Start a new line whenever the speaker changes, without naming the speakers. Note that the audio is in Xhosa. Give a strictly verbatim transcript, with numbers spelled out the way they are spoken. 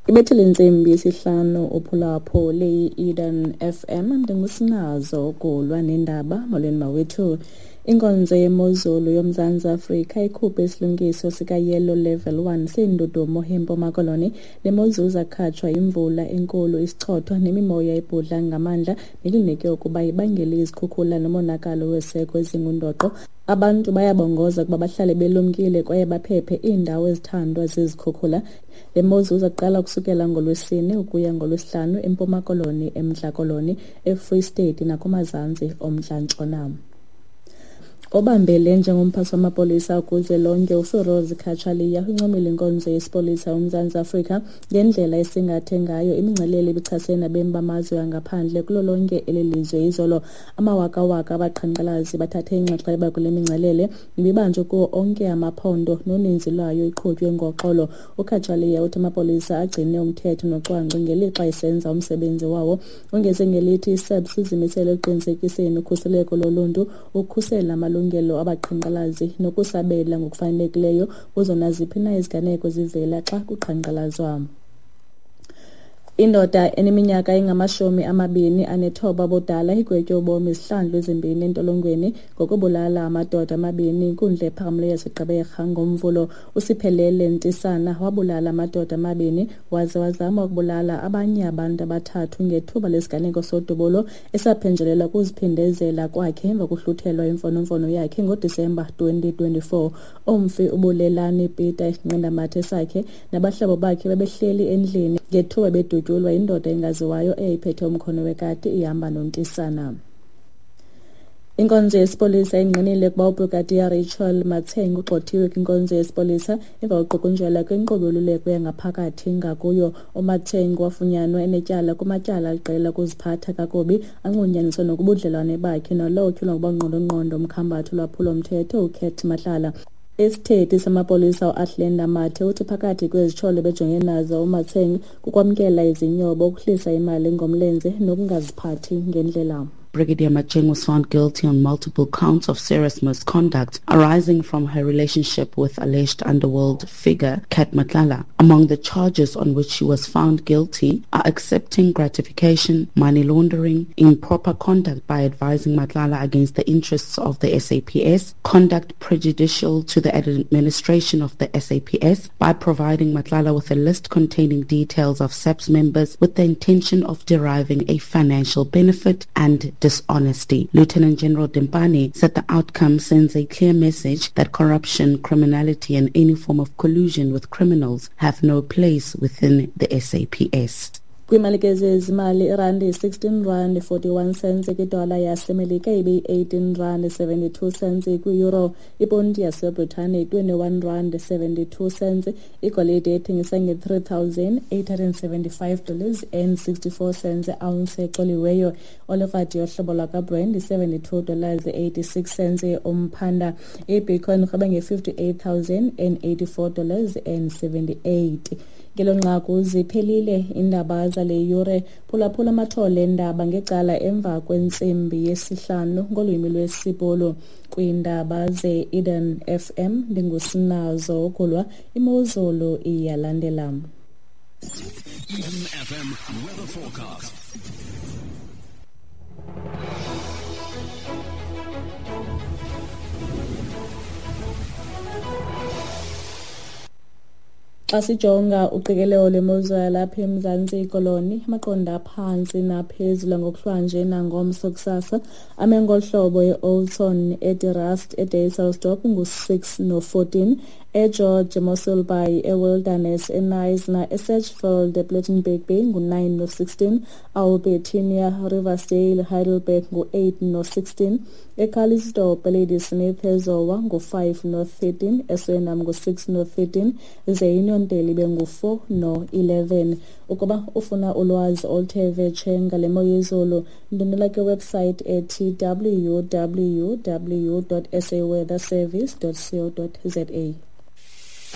Ibethile intsimbi yesihlanu uphulapho leyi-Eden F M. Ndingusinazo ukulwa nendaba. Molweni mawethu. Inkonzo yemozulu yoMzantsi Afrika ikhuphe isilumkiso sika-Yellow Level one seendudumo eMpuma Koloni. Le mozulu izakhatshwa yimvula enkulu, isichotho nemimoya ebhudla ngamandla nelinike ukuba ibangele izikhukhula nomonakalo weseko ezingundoqo. Abantu bayabongoza ukuba bahlale belumkile kwaye baphephe iindawo ezithandwa zizikhukhula. Le mozulu izaqala ukusukela ngoLwesine ukuya ngoLwesihlanu eMpuma Koloni, eMntla Koloni, eFree State nakumazantsi oMntla Ntshona. Obambele njengomphathi wamapolisa kuzwelonke uFiroz Cachalia uncomile inkonzo yesipolisa yoMzantsi Afrika ngendlela esingathe ngayo imingcelele ebichasene nabemi bamazwe angaphandle kulo lonke eli lizwe izolo. Amawakawaka abaqhankqalazi bathathe inxaxheba kule mingcelele ibibanjwe kuwo onke amaphondo noninzi lwayo iqhutywe ngoxolo. UCachalia uthi amapolisa agcine umthetho nocwangco ngelixa esenza umsebenzi wawo. Ongeze ngelithi i-S A P S izimisele ekuqinisekiseni ukhuseleko loluntu, ukukhusela amalungelo abaqhankqalazi nokusabela ngokufanelekileyo kuzo naziphi na iziganeko zivela xa kuqhankqalazwa. Indoda eneminyaka engamashumi amabini anethoba ubudala igwetywe ubomi izihlandlo ezimbini entolongweni ngokubulala amadoda amabini inkundla ephakamileyo yaseGqeberha ngoMvulo. Usiphelele Ntisana wabulala amadoda amabini waze wazama ukubulala abanye abantu abathathu ngethuba lesiganeko sodubulo esaphenjelelwa kuziphindezela kwakhe emva kokuhluthelwa imfonomfono yakhe ngoDisemba twenty twenty-four. Umfi uBulelani Peter isinqandamathe sakhe nabahlobo bakhe babehleli endlini ngethuba bedutyulwa indoda engaziwayo eyayiphethe umkhono wekati ihamba noNtisana. Inkonzo yesipolisa ingqinile ukuba uBrigadier Rachel Matsheng ugxothiwe kwinkonzo yesipolisa emva kokuqukunjelwa kwinkqubo yoluleko yangaphakathi ngakuyo. UMatsheng wafunyanwa enetyala kumatyala aliqela okuziphatha kakubi anxulunyaniswa nokubudlelwane bakhe nalowo utyholwa ngokuba ngqondongqondo umkhambathi olwaphulo-mthetho uCat Matlala. Isithethi samapolisa uAthlenda Mathe uthi phakathi kwezityholo bejongene nazo uMatsheng kukwamkela izinyobo, ukuhlisa imali ngomlenze nokungaziphathi ngendlela.
Brigadier Matsheng was found guilty on multiple counts of serious misconduct arising from her relationship with alleged underworld figure Cat Matlala. Among the charges on which she was found guilty are accepting gratification, money laundering, improper conduct by advising Matlala against the interests of the S A P S, conduct prejudicial to the administration of the S A P S by providing Matlala with a list containing details of S A P S members with the intention of deriving a financial benefit, and dishonesty. Lieutenant General Dimpane said the outcome sends a clear message that corruption, criminality and any form of collusion with criminals have no place within the S A P S.
Kwiimali ke zezimali, irandi sixteen rand forty-one cents kwidola yaseMelika ibe eighteen rand seventy-two cents kwi-euro, iponti yaseBritane twenty-one rand seventy-two cents, igolide ethengisa nge-three thousand eight hundred seventy-five dollars and sixty-four cents ounce ecoliweyo. Olifati yohlobo lwakwaBrent seventy-two dollars eighty-six cents umphanda. IBitcoin irhweba nge-fifty-eight thousand and eighty-four dollars and seventy-eight. Ngelo nqaku ziphelile iindaba zale yure. Phulaphula amathole endaba ngecala emva kwentsimbi yesihlanu ngolwimi lwesiBhulu. Kwiindaba ze-Eden F M ndingusinazo ukulwa imozulu iyalandela.
Eden F M weather forecast.
Xa sijonga uqikelelo lwemozulu yalapha eMzantsi Koloni, amaqondo aphantsi naphezulu ngokuhlwanje nangomso kusasa ame ngolu hlobo: eOldton, eDeRust, eDysselsdorp ngu-six no-fourteen, eGeorge, eMossel Bay, eWilderness, eKnysna, eSedgefield, ePlettenberg Bay ngu-nine no-sixteen, Albertinia, Riversdale, Heidelberg ngu-eight no-sixteen, eCalitzdorp, eLadysmith, eZowa ngu-five no-thirteen, eSuriname ngu-six no-thirteen, ze iNyondele ibe ngu-four no-eleven. Ukuba ufuna ulwazi oluthe vetshe ngale mo yezulu, ndwendwela kwiwebsite ethi w w w dot s a weather service dot co dot z a.